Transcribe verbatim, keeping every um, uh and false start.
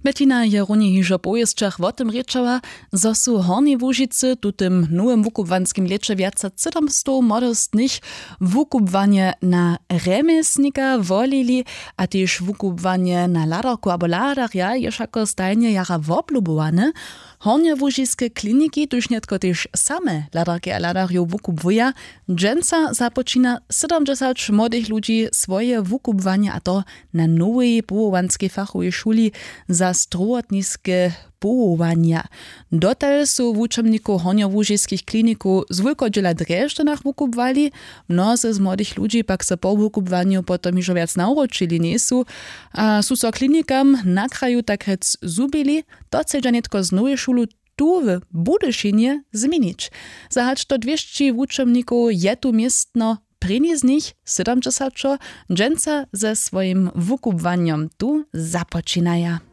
Bettina je runje hižo po wěsćach wo tym rěčała, zo su w hornjej łužicy w tutym nowym wukubłanskim lěće wjace sydomstow młodostnych wukubłanje na rjemjesnika wolili, a tež wukubłanje na hladarku abo hladarja je wšako stajnje jara woblubowane. Hornjołužiske kliniki, tuž nětko tež same hladarki a hladarjow wukubłuja, dźensa započina sydomdźesać młodych ludźi swoje wukubłanje, a to na nowej powołanskej fachowej šuli za strowotniske powołanja. Dotal su wučomnikow hornjołužiskich klinikow z wulkodźěla w drježdźanach wukubłali. Mnozy z młodych ludźi pak so po wukubłanju potom hižo wjac nawróćili njejsu a su so klinikam na kraju tak rjec zhubili. To chcedźa nětko z nowej šulu tu w budyšinje změnić. Za hač do dwěsći wučomnikow je tu městno, prěni z nich sydomdźesaćo dźensa ze swojim wukubłanjom tu započinaja.